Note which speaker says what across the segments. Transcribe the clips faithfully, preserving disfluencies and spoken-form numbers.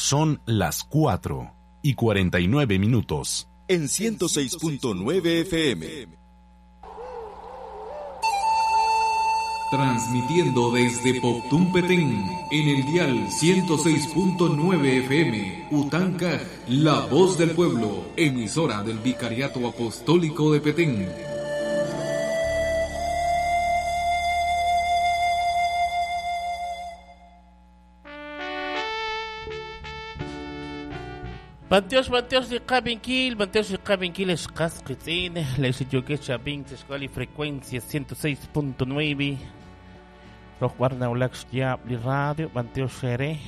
Speaker 1: Son las cuatro y cuarenta y nueve minutos.
Speaker 2: En ciento seis punto nueve F M.
Speaker 3: Transmitiendo desde Poptún Petén, en el dial ciento seis punto nueve F M, Utancaj, la voz del pueblo, emisora del Vicariato Apostólico de Petén.
Speaker 4: Banteos, banteos de Cabinkil, banteos de Cabinkil, escasquitzin, les yoque chabin, escuela frecuencia ciento seis punto nueve. Rock Barna Ulax Diabli Radio, banteos Shere,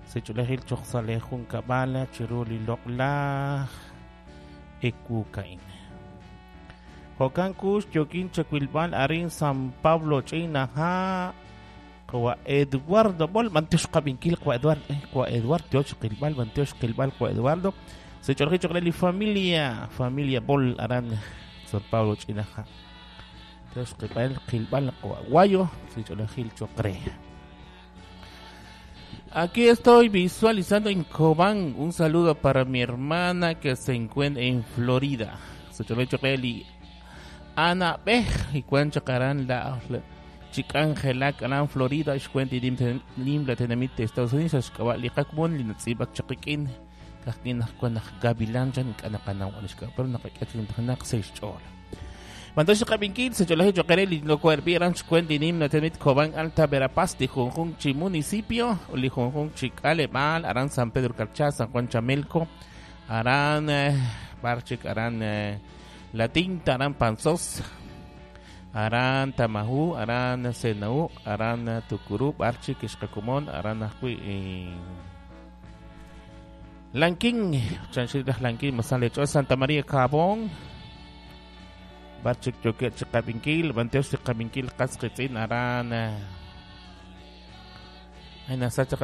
Speaker 4: Sechulejil Choxalejun Kabala, Chiruli Lokla, Ekukain. Jokankus, Yokin Chaquilbal, Arin San Pablo, China, Ha. Kwa Eduardo Bol, Banteos Cabinkil, kwa Eduardo, kwa Eduardo, Qilbal, Banteos Qilbal, kwa Eduardo. Se chorje chorle familia, familia Bol Aran, San Pablo Chinaja. Teos Qilbal, Qilbal, kwa Guayo, se chorje chocre. Aquí estoy visualizando en Cobán. Un saludo para mi hermana que se encuentra en Florida. Se chorje chocre Ana Bej y cuancha caran la Chicangela, Aran Florida, Xcuenti, Lim, la Tenamite, Estados Unidos, Xcabali, Linatzibak, Chaquiquín, Cajquín, Gavilán, Canacana, pero Nacachin, seis chola. Mantosh Cabinkil, Secholaje Chocarelli, Locuerbi, Ranch Cuenti, Nim, la Tenamit, Cobán, Alta Verapaz, Tijonjun, municipio, Lijunjun, Chicalemal, Arán San Pedro Carchá, San Juan Chamelco, Arán Barchik, Arán La Tinta, Arán Panzós, Arán Tamajú, Arán Senaú, Arán Tucurú, Barchi, Quixcacumón, Arán Ajuy, eh, Lanquín, Chanchitas Lanquín, Mazalecho, Santa María Cabón, Barchi, Choque, Chicabinquil, Banteos, Chicabinquil, Casquitzin, Arán, Sacha,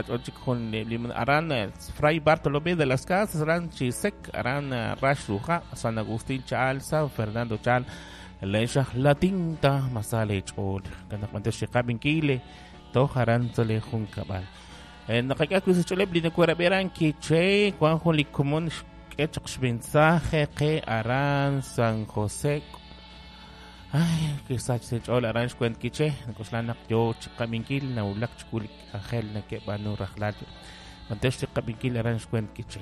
Speaker 4: Arán, Fray Bartolomé de las Casas, Arán Chisec, Arán Rash Ruja, San Agustín Chal, San Fernando Chal, Leisha la tinta masale chol kana kwante shikabin to haran tsole junkabal en nakaka ku chole blin ku raberan ki che kwan juli komon kech mensaje que aran San José ay que sach se chol aran kwent kiche koslan yo chikabinkil na ulak chkulik angel na ke banu rajlal kwante shikabinkil aran kwent kiche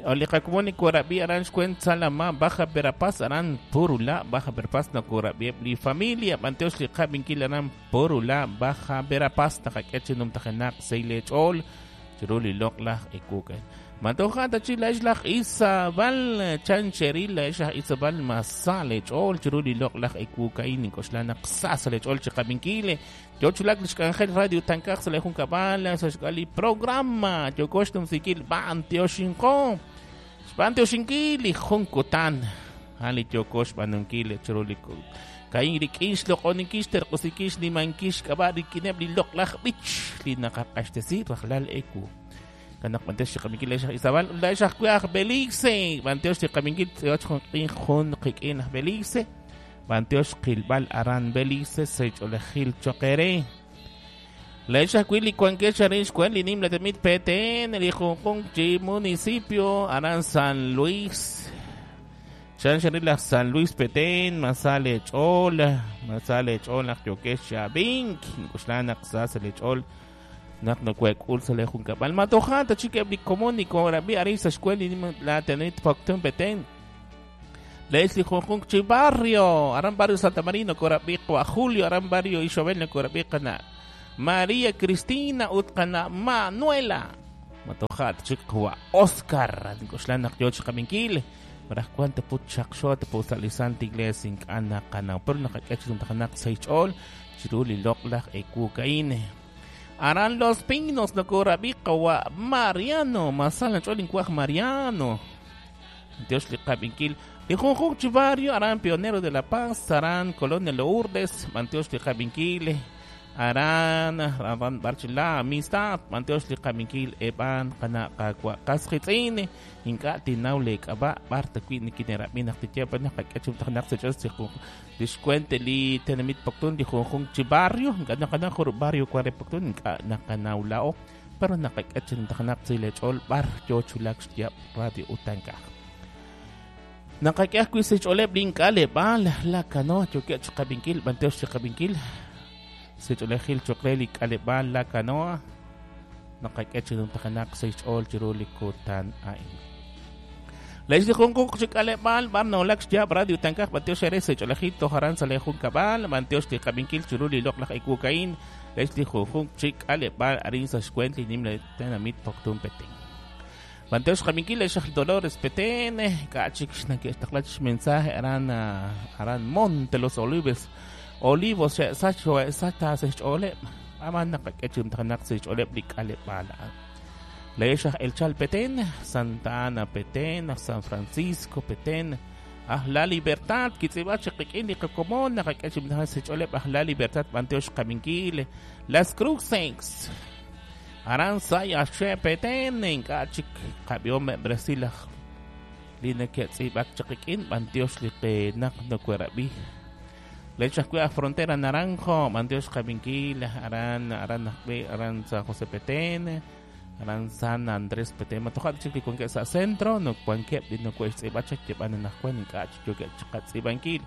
Speaker 4: Olikakumoni Kurabi Aran Shkwen Salama Baja Verapaz Aran Purula Baja Verapaz na Kurabi li familia Banteos li Kabinkil Aran Purula Baja Verapaz Nakakechi num takenak Seilech Ol Chiruli Loklah Ekuken Mantoja Tachila Islah Isabal Chancherila Islah Isabal Masalech Ol Chiruli Loklah Ekukain Koslanak Sasalech Ol Chikabinkile Yochulak Lishkangel Radio Tankaj Salejun Kabala Sashkali Programa Yokoshtum Sikil Banteoshinko Banteoshinkili Junkotan Ali Yokosh Banunkile Chiruli Kain Rikish Lokonikish Terkosikish Limankish Kabari Kinebli Loklaj Bich Linakakashtesi Rajlal Eku Kanak Banteos Chikabinkil Isabal Laishah Kuaj Belice Banteos Chikabinkil Jun Kikin Belice Banteos Qilbal Aran Belice Sech Olejil Choquere Leisha Quili Cuanquecha Rich Cueli Nim Latemit Petén el Hijo Municipio Aran San Luis Chancharila San Luis Petén Masale Chol Masale Chol Yoquecha Bink Kuslana Xasale Chol Nak no cuec ulsale Juncabal Matojanta Chique Blicomónico Rabi Arisa Escueli Nim Latemit Poctun Petén Leslie Junjun Chibarrio, Aran Barrio Santa Marino, Corabico a Julio, Aran Barrio Isabel, Corabico María Cristina, Utkana Manuela, Matojat, Chico Oscar, Nicoslana, Yoch Caminquil, Marah cuánto put Shakshot, Pusalizante Iglesia, Ana Canao, pero Nakakach, Tanak, Seichol, Chiruli, Loklaj, Ekukaine. Aran Los Pinos, no Corabico, Mariano, Masala, Cholin, Cuaj Mariano. Dios le Caminquil. Lijunjun Chivario, Arán Pionero de la Paz, Arán Colonia Lourdes, Manteos Lijaminquil, Arán, Arán Barchila, Amistad, Manteos Lijaminquil, Eban, Kana, Kakua, Kasjitzine, Inka, Tinaule, Kaba, Barta, Queen, Kinera, Minak, Tichepa, Nakachum, Tanak, Sechos, Discuente, Li, Tenemit, Poctun, Lijunjun Chivario, Kana, Kana, Barrio, Cuare, Poctun, Nakanaulao, pero naqak'e chi numtajenaq sa' lech'ool b'ar yo chulak xyab' Radio Utankaj. Naqak'e ajwi' sa' xch'ooleb' li ink'aleb'aal La Canoa yookeb' chi qab'inkil, b'antiox chi qab'inkil sa' xch'oolejil cho'q re li k'aleb'aal La Canoa. Naqak'e chi numtajenaq sa' xch'ool chiru li kutan a'in. Lex li junjunq chi k'aleb'aal b'ar nawulak xyaab' Radio Utankaj, b'antiox eere sa' xch'oolejil toj aran sa' le junkab'al, b'antiox li qab'inkil chiru li loq'laj ekukain. Lex li junjunq chi k'aleb'aal arin sa' xkwent li nimla tenamit Poptún Petén. B'antiox qab'inkil lex aj Dolores Petén, k'achik xnake'xtaqla xmensaje aran aran Monte Los Olivos, Olivos xe'sach xe'sach ta sa' xch'ooleb', aman naqak'e chi numtajenaq sa' xch'ooleb' li k'aleb'aal a'an. Lex aj El Chal Petén, Santa Ana Petén, San Francisco Petén, aj La Libertad, kitz'ib'a chi qik'in li qakomon, naqak'e chi numtajenaq sa' xch'ooleb' aj La Libertad, b'antiox qab'inkil, Las Cruces, aran Sayaxe Petén, ink'a' chik qab'ihom Brasil aj li neke'tz'ib'ak chi qik'in, b'antiox li qenaq nokuerab'i. Lex ajwi' aj Frontera Naranjo, b'antiox qab'inkil, aran aran ajwi' aran San José Petén, aran San Andrés Petén, matoja' chik li wankeb' sa' centro, no wankeb' li noko'xtz'ib'a chak yeb'an anaqwan ink'a' chik yookeb' chiqatz'ib'ankil.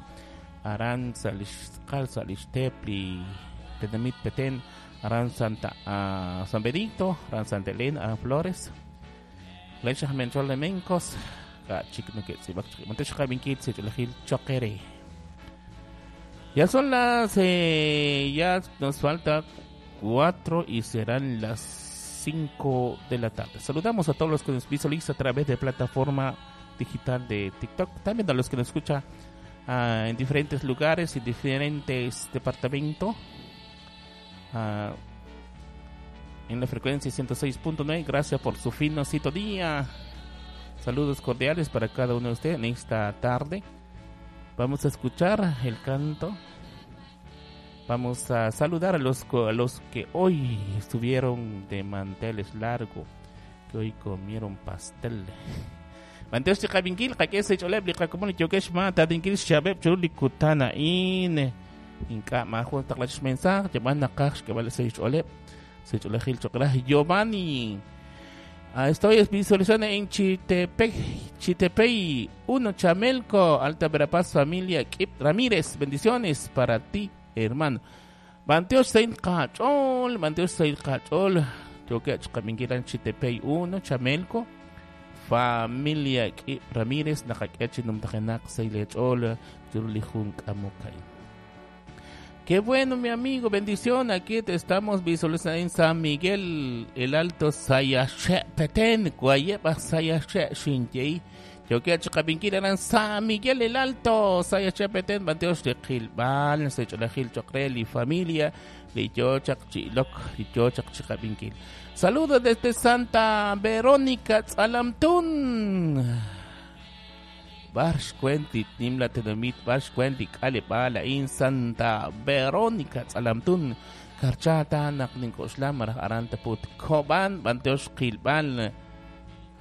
Speaker 4: Aran sa' li xtz'aqal sa' li xteep li tenamit Petén, aran Santa uh, San Benito, aran Santa Elena, aran Flores. Lex aj Menchol de Mencos, ka' chik noke'tz'ib'ak chik. B'antiox qab'inkil sa' xch'oolejil choqere. Ya son las eh, ya nos falta cuatro y serán las cinco de la tarde. Saludamos a todos los que nos visualizan a través de plataforma digital de TikTok, también a los que nos escuchan uh, en diferentes lugares y diferentes departamentos. Uh, en la frecuencia ciento seis punto nueve, gracias por su fino sintonía. Saludos cordiales para cada uno de ustedes en esta tarde. Vamos a escuchar el canto. Vamos a saludar a los, a los que hoy estuvieron de manteles largo, que hoy comieron pastel. B'antiox chi qab'inkil, qak'e sa' xch'ooleb' li qakomon li yookeb' xma tadinkil xchab'eb' chiru li kutan a'in. Ink'a' maajun taqla xmensaje, yeb'an naqaj xk'eb'al sa' xch'ooleb', sa' xch'oolejil cho'q raj Giovanni. Ah, estoy visualizando en Chitepec, Chitepey, uno Chamelco, Alta Verapaz, familia Kip Ramírez. Bendiciones para ti, hermano. B'antiox sa' qach'ool, b'antiox sa' qach'ool. Yookeb' chiqab'inkilan Chitepey uno Chamelco, familia Kip Ramírez, naqak'e chi numtajenaq sa' lech'ool, chiru li jun k'amokay. Qué bueno, mi amigo, bendición. Aquí te estamos visualizando en San Miguel, el Alto Sayaxe, Petén, Guayeba, Sayaxe, Xinjei. Yo quiero chiqab'inkil eran San Miguel, el Alto, Sayaxe, Petén, b'antiox li qilb'al, sa' xch'oolejil cho'q re li familia, li yochaq chilok, li yochaq chiqab'inkil. Saludos desde Santa Verónica, Tzalamtún. Barsh kwenti nimla tenomit barsh kwenti k'aleb'aal a'in Santa Verónica Tzalamtún karchata naq nink'oxla maraj aran taput kob'an b'antiox qilb'al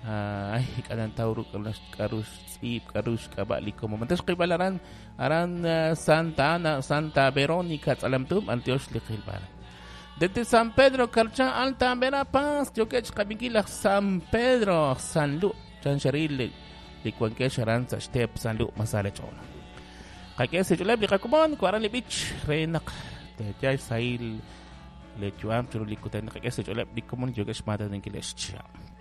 Speaker 4: ay k'anan taw ruk' k'aru xtz'iib k'aru xk'ab'a' li komo b'antiox qilb'al aran aran Santa Ana Santa Verónica Tzalamtún b'antiox li qilb'al. Desde San Pedro Carchá Alta Verapaz yookeb' chiqab'inkil aj San Pedro San Lu Chanxaril li wankeb' aran sa' xteep San Lu Masale ch'ool. Qak'e sa' xch'ooleb' li qakomon kwaran li b'ich re naq te'yal sahil le yu'am chiru li kutan. Qak'e sa' xch'ooleb' li komon yookeb' xmaataninkil xchihab'.